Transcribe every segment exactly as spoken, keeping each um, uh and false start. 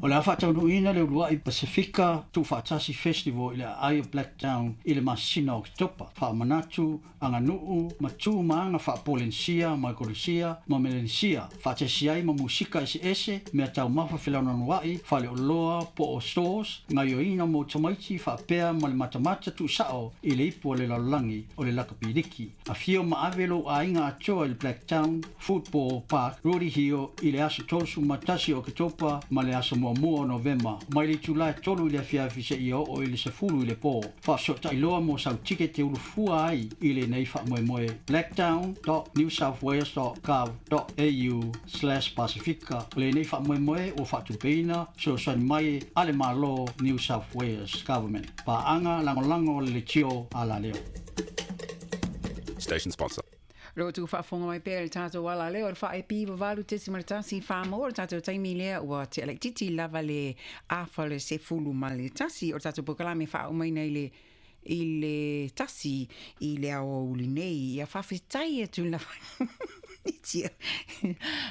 O le a faataunuuina le uluai Pasifika Tuufaatasi Festival i le aai o Blacktown i le masina o Oketopa. Faamanatu, aganuu ma tu ma aga faapolenisia, Maikolesia ma Melenesia, faatasi ai ma musika eseese, mea taumafa felaunanuai, faleoloa po o stores, gaioiga mo tamaiti faapea ma le matamata tuusao i le ipu o le lalolagi o le lakapiliki. Afio ma ave lou aiga atoa i le Blacktown Football Park, Rooty Hill i le aso tolusefulu ma tasi o Oketopa ma le aso muamua o Novema, mai le itulā e tolu i le afiafi seia oo i le sefulu i le po. Faafesootai loa mo sau tikete ulufua ai i lenei faamoemoe, blacktown dot new south wales dot gov dot au slash pasifika. O lenei faamoemoe ua faatupeina fesoasoani mai a le Malo, New South Wales Government. Paaga lagolago o le Leitio Alaleo. Station sponsor. Lo tu faafofoga mai pea le tatou Alaleo o le faaepi valu tesi ma le tasi wha le tatou taimi lea ua te ala titi lava le afa le sefulu ma le tasi o le tatou pokalame faaumaina i le i le tasi i le aoauli nei. Ia faafetai atu lava tia.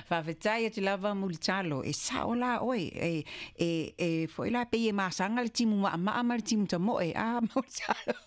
Faafetai atu lava mulitalo e sao la oe e e e foi la pe e masaga le timu maamaa ma le timu tamoe a mulitalo.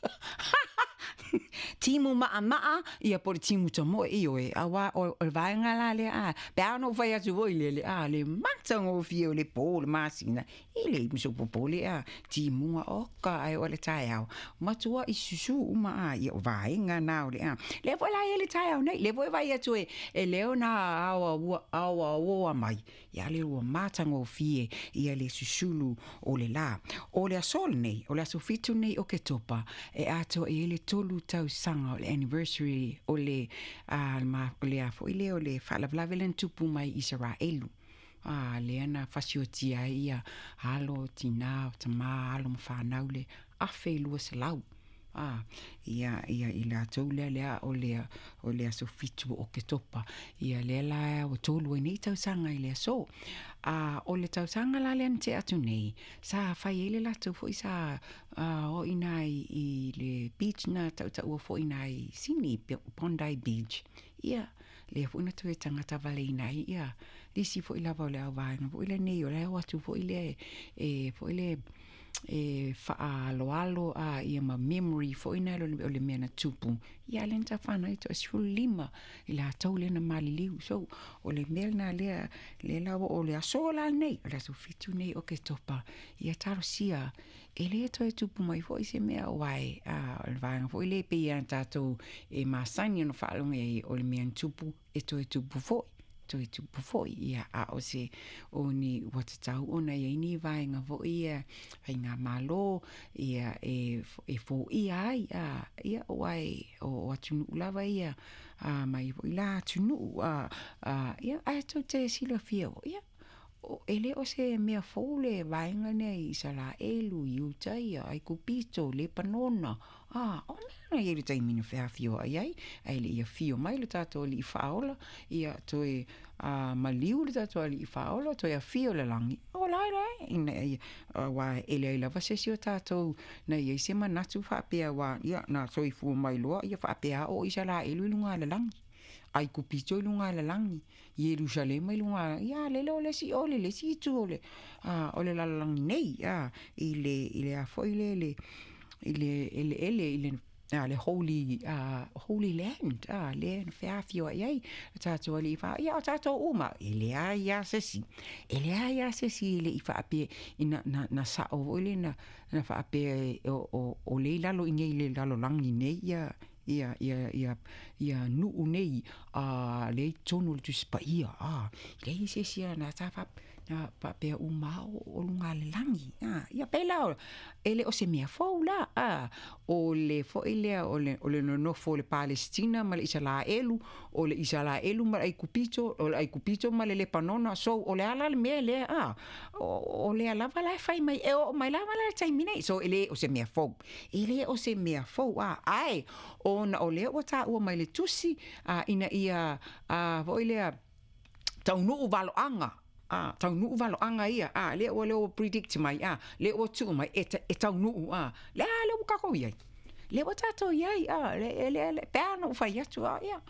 Timu maamaa ia po le timu tamoe i oe aua o o le vaega la lea a pe a no fai atu foi le le a le matagofie o le po le masina i le musopopole a timuga oka ai o le taeao matua i susu uma a ia o vaega na o le a lea foi la ia le taeao nei le foi vai atu e e leo na aoa ua aoa oa mai ia le ua matagofie ia le susulu o le la o le aso nei o le aso fitu nei o Ketopa e atoa i ai le tolu tausaga o le anniversary o le a ma o le a foi le o le faalavelave le na tupu mai Isaraelu a lea na fasiotia ai ia alo tinā o tamā alo ma fanau le afe lua selau a ia ia i latou lea lea o le o le aso fitu o Oketopa ia lea la ua tolu ai nei tausaga i le aso a o le tausaga la lea na tea atu nei sa fai ai le latou foi sa o i ina i, i le beach na tautaua foi ina i Sydney, Bondi Beach, ia lea foi na toe tagata valeina ai ia nisi foi lava o le auvaega foi lenei o le o atu foi lea e foi le e faaloalo a ia ma memory foi na o le mea na tupu ia le na whana i to lima i latou lea na maliliu. So o le mea lena lea lea la o le aso la nei o le aso fitu nei o Ketopa ia talosia e le toe tupu mai foi se mea o ai a o le vaega foi le pe ia tatou e masani ona faalogo ai o le mea na tupu e toe tupu foi toe tupu foi ia a o se o ni ua tatau ona iai ni vaega foi ia faigamalo ia e e foia ai a ia o ai o atunuu lava ia a mai foi la atunuu a a ia ae tou te silafia ia e le o se mea fou le vaega lea i Isaraelu, Iuta ia, Aikupito, Lepanona. A, o mea na i le taimi na feafioai ai, ae le i afio mai le tatou Alii Faaola, ia toe a, maliu le tatou Alii Faaola, toe afio le lagi. O la e la, ina ia, aua e leai lava se isi o tatou na i ai se manatu faapea ua, ia, na soifua mai loa, ia faapea o Isaraelu i luga o le lagi. Aikupito i luga o le lagi, Ierusalema i luga, ia lele o le isi o le le isi itu o le a o le lalolagi nei a i le i le a foi le le i le eleele i le a le holy uh, holy land a le na feafioai ai le tatou Alii fa ia o tatou uma e leai a se isi e leai a se isi e le i faapea i na, na, na sao foi le na, na faapea o, o, o le i lalo i nei le lalolagi nei ia ia ia ia ia nuu nei a le i totonu o le Tusi Paia a leai se isi na ta fa na faapea uma o, o luga le lagi a ia pela o e le o se mea fou la a o le foi lea o le o le nonofo o le Palestina ma le Isaraelu o le Isaraelu ma le Aikupito o le Aikupito ma le Lepanona. So o le ala le mea lea a o, o lea lava la e fai mai e oo mai lava la le taimi nei. So e le o se mea fou e le o se mea fou a ae ona o lea ua taua mai le tusi a ina ia a foi lea taunuu valoaga a taunuu valoaga ia a lea ua lea ua predict mai a lea ua tuu mai e, e taunuu a lea lea ua tatou iai lea ua tatou iai a le le le pe ana ua fai atu a ia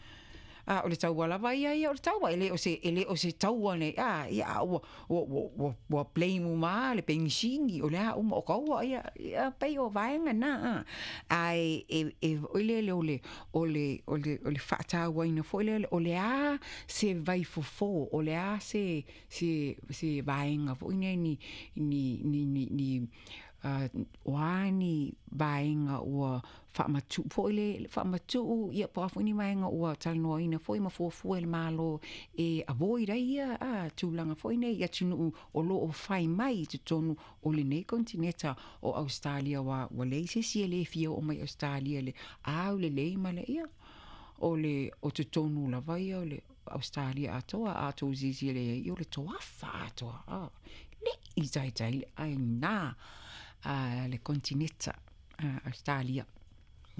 A o le taua lava ia ia o le taua e le o se e le o se taua nei a ia ua ua ua ua blame uma le penisini o le a uma o kaua ia ia pei o vaega na a e e e le le o le o le o le o le faatauaina foi lele o le a se vaifofo o le a se se se vaega foi nei ni ni ni ni ni o a ni vaega ua faamatu'u foi le faamatu'u ia po o a foi ni vaega ua talanoaina foi ma fuafua e le Malo e avoid ai ia a tulaga foi nei i atunuu o loo fai mai i totonu o lenei konetineta o Ausetalia ua ua leai se isi e lē fia oo mai Ausetalia le aulelei ma le ia o le o totonu lava ia o le Ausetalia atoa a outou silasila i ai o le toafa atoa a le'i taitai le aiga a le konetineta Ausetalia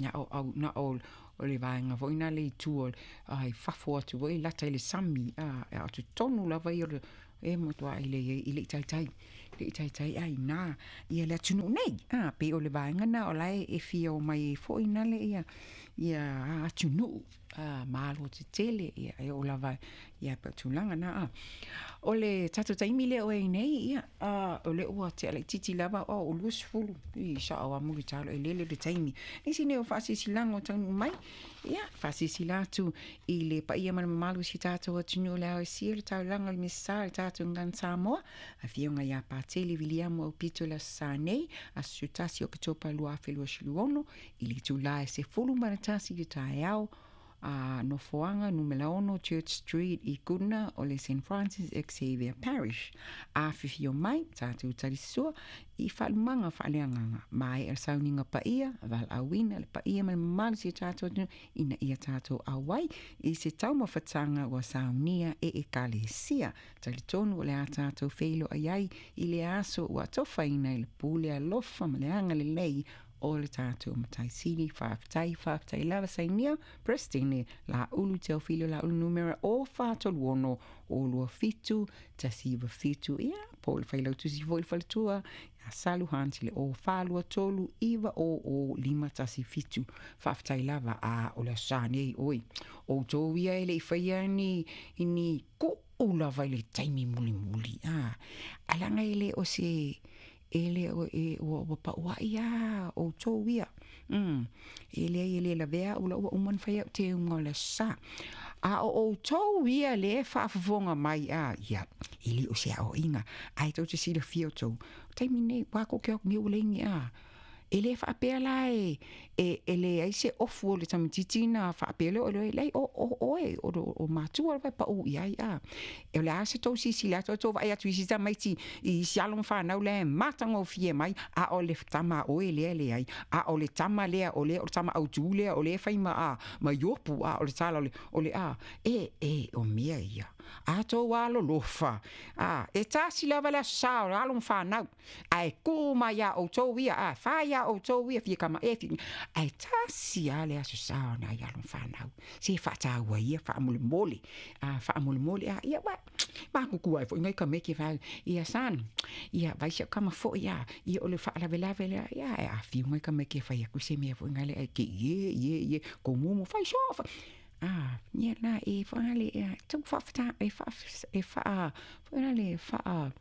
ia o au na o o le vaega foi na le itu o ai fafo atu foi lata i le sami a a o totonu lava ia o le e matuai le i le'i taitai le'i taitai aiga ia le atunuu nei a pei o le vaega na o lae e fia omai ai foi na le ia ia atunuu a malo tetele ia e oo lava ia pe tulaga na a o le tatou taimi lea o ai nei ia a o le ua tea laitiiti lava o o luasefulu i sa'o a mulitalo e lele le taimi nisi nei o faasilasilaga o taunuu mai ia faasilasila atu i le paia ma le mamalu o si tatou atunuu le aosia le taulaga o le Misasa le tatou gagana Samoa afioga ia Patele Viliamu Aupito le aso Sa nei aso tasi o Oketopa lua afe luasefulu ono i le itulā e sefulu ma le tasi i le taeao a nofoaga numera ono Church Street i Goodna o le Saint Francis Xavier Parish. Afifio mai tatou talisua i faalumaga faaleagaga maea le sauniga paia valaauina le paia ma le mamalu si o tatou atunuu ina ia tatou auai i se taumafataga ua saunia e ekalesia. Talitonu o le a tatou feiloai ai i le aso ua atofaina i le pule alofa ma le agalelei o le tatou Matai Sili. Faafetai, faafetai lava sainia Peresetene Laulu Teofilo Laulu numera o fa tolu ono o lua fitu tasi iva fitu ia po o le failautusi foi le faletua ia Salu Hans i le o fa lua tolu iva o o lima tasi fitu. Faafetai lava a o le aso Sa nei oi outou ia e le'i faia ni ni ku'u lava i le taimi mulimuli a alaga e le o se e le o e ua ua paua'i a outou ia mm e leai e lē lavea a'u la ua uma ona fai a'u teuga o le aso Sa a o outou ia le faafofoga mai a ia e lē o se aoaiga ae tou te silafia outou taimi nei ua koke atu nei ua leai a e lē faapea la e e e leai se ofu o le tamaititi na faapea lea o le leai o o oe o o matua lava e paʻu i ai a e o le a se tou silasila atu tou vaai atu i isi tamaiti i isi alo ma fanau lea e matagofie mai a o le tama a oe lea leai a o le tama lea o lea o le tama autū lea o lea fai ma a ma iopu a o le tala o le o le a e e o mea ia a tou alolofa a e tasi lava le aso Sa o le alo ma fanau ae kū mai iā outou ia a fai iā outou ia fia kama e fia ae tasi a le aso Sa o nai alo ma fanau se faataua ia faamolemole a faamolemole a ia wa makuku ai foi ngai ka meke fa ia san ia vai se kama foi ia ia o le faalavelave lea ia e afio ngai ka meke fai aku se mea foi ngai le ai ke ie ie ie ko mumu fai so fa a ia na e whangale e tau whaafata e wha e wha whangale wha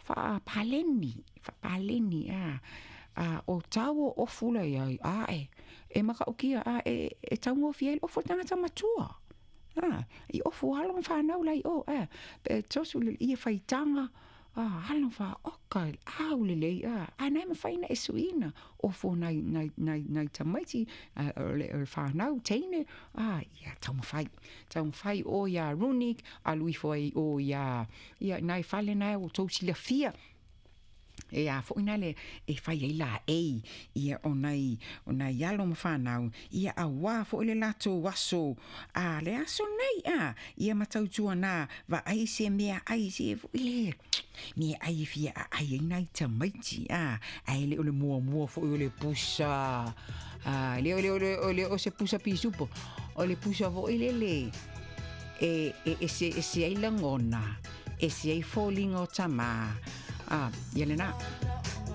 wha paleni wha paleni a a o tau o fula ia a e e makaukia a e e tau ngofia i ofu tangata matua a i ofu alo ma whanau lai o a e tosu le ia whaitanga a alo wha oka au le lei a a nai mawhaina e suina ofu nai nai nai nai tamaiti o le o le whanau teine a ia taumafai taumafai o ia Runik a lui foi o ia ia nai fale nai o tou silafia e a foi na le e fai ai la ei ia o nai o nai alo ma whanau ia a wā foi le latou aso a le aso nei a ia matautua nā va ai se mea ai se foi le mea ai e fia a ai ai nai tamaiti a ai le o le muamua foi o le pusa a le o le o le o le o se pusa pisupo o le pusa foi le le e e e se e se ai lagona e se ai foliga o tamā a ia lena.